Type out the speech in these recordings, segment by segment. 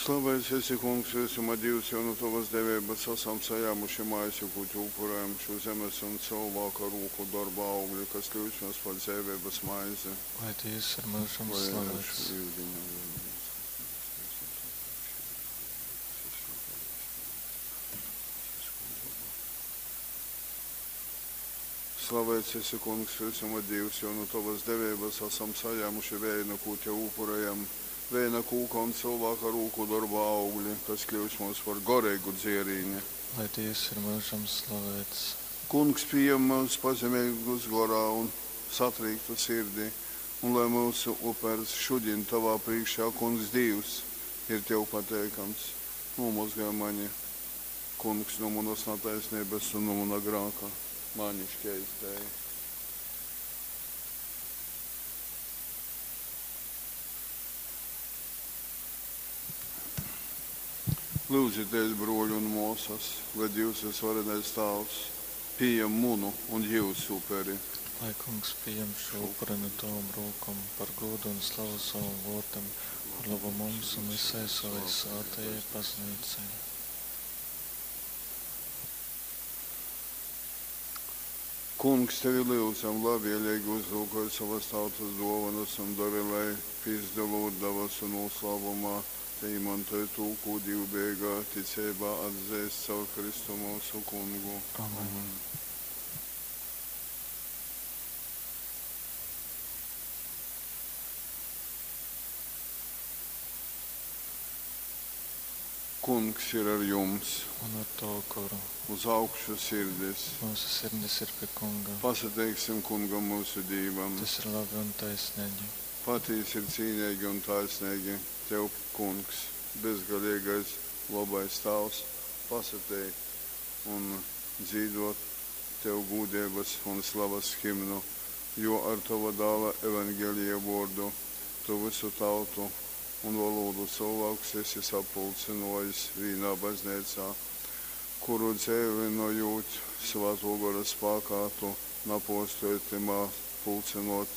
Slaveits esi, Kungs, vysuma Dīvs, jo nu tovas deveibas asam sajāmuši maizi, kū tev upurējam, šū zemes un cylvāka rūku dorba augli, kas kļyus mums par dzeiveibas maizi. Lai Dīvs ir myužam Lai slaveits. ar yudiņa Slaveits esi, Kungs, vysuma Dīvs, jo nu tovas deveibas asam sajāmuši veinu, kū tev upurējam, veina kūka un cylvāka rūku dorba augli, kas kļyus mums par goreigu dzierīni. Lai Dīvs ir myužam slaveits. Kungs pījem myus pazemeigus gorā un satrīktu sirdī, un lai myusu upers šudiņ tovā prīškā, Kungs Dīvs, ir tev pateikams. Nūmozgoj mani, Kungs, nu munas nataisneibas un nu muna grāka. Mani škeistēja. Lūdzieties, bruoļi un muosas, lai Dievs visvarenais Tāvs pieņem munu un jūsu uperi. Lai Kungs pieņem šo upuri no tavām rokām par godu un slavu savam vārdam, par labu mums un visai savai svētajai baznīcai. Kungs, tevi lūdzam, labvēlīgi uzlūkoj savas tautas dovanas un dari, lai pīzdalot dabasu noslēpumā, te izmantoj to, ko dievbijīgā ticībā atzīst caur Kristu mūsu kungu. Amen. Kungs ir ar jums, Un ar tavu goru. uz augšu sirdis. Mūsu sirdis ir pie Kunga. Pasateiksim kungam mūsu Dievam. Tas ir labi un taisnīgi. Patīsi ir cīnīgi un taisnīgi. Tev, kungs, bezgalīgais, labais tavs, pasateikt un dzīdot tev gūdības un slavas himnu, jo ar tava dāla evangelija vārdu tu visu tautu un valodu cilvēkus esi sapulcinojis vienā baznīcā, kuru dzeivinojot svēto gora spēkā, tu napostoj timā pulcinot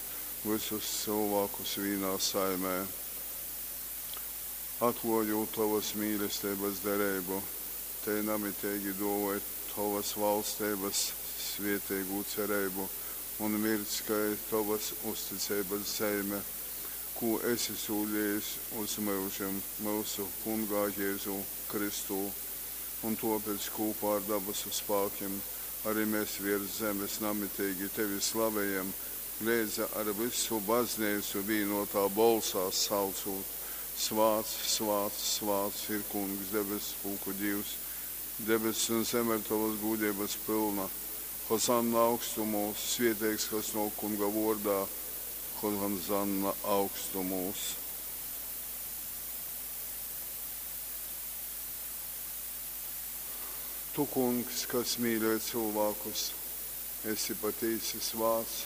visus cilvēkus vienā saimē. Atklājot tavas mīlestības derību, te namitīgi dovoj tavas valstības svētīgu cerību un mirdz, kai tavas uzticības zeime, ko esi solījis uz mūžiem mūsu kungā Jēzu Kristū. Un tāpēc kopā ar dabasu spēkiem arī mēs virs zemes namitīgi tevi slavējam, līdz ar visu baznīcu vienotā bolsā saucot. Svāts, svāts, svāts ir kungs, debesu pulku Dievs, debesis un zeme ir tavas gūdības pilna. Hosanna augstumos, svētīgs, kas no kunga vārdā, Hosanna augstumos. Tu, kungs, kas mīļoj cilvēkus, esi patiesi svāts,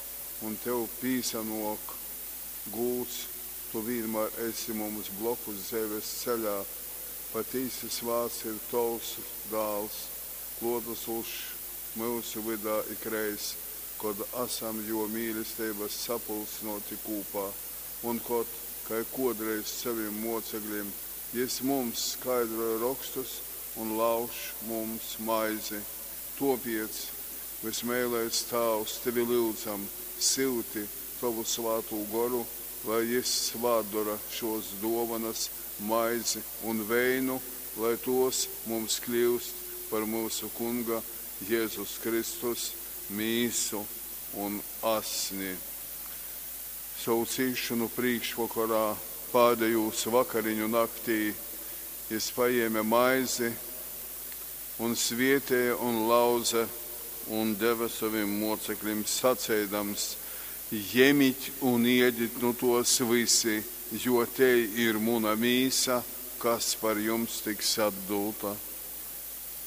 un tev pīsanok gūds, tu vienmēr esi mums blokus dzīves ceļā. Patiesi svāts ir tavs dāls, klotasošs mūsu vydā ikreiz, kod esam jo mīlestības sapulcinoti kopā, un kod, kai kodreiz saviem mocekļiem, jis mums skaidroja rakstus un lauž mums maizi. Topiec, vismēlais Tāvs, tevi lūdzam, silti tavu svātū goru, lai jis svātdora šos dovanas, maizi un veinu, lai tos mums kļūst par mūsu kunga Jēzus Kristus mīsu un asni. Savu cīšanu priekšvakarā, pēdējos vakariņu naktī, jis paēma maizi un svietēja un lauza un deva saviem mocekļiem sacēdams, ņemiet un iediet nu tos visi, jo te ir muna mīsa, kas par jums tiks atdota.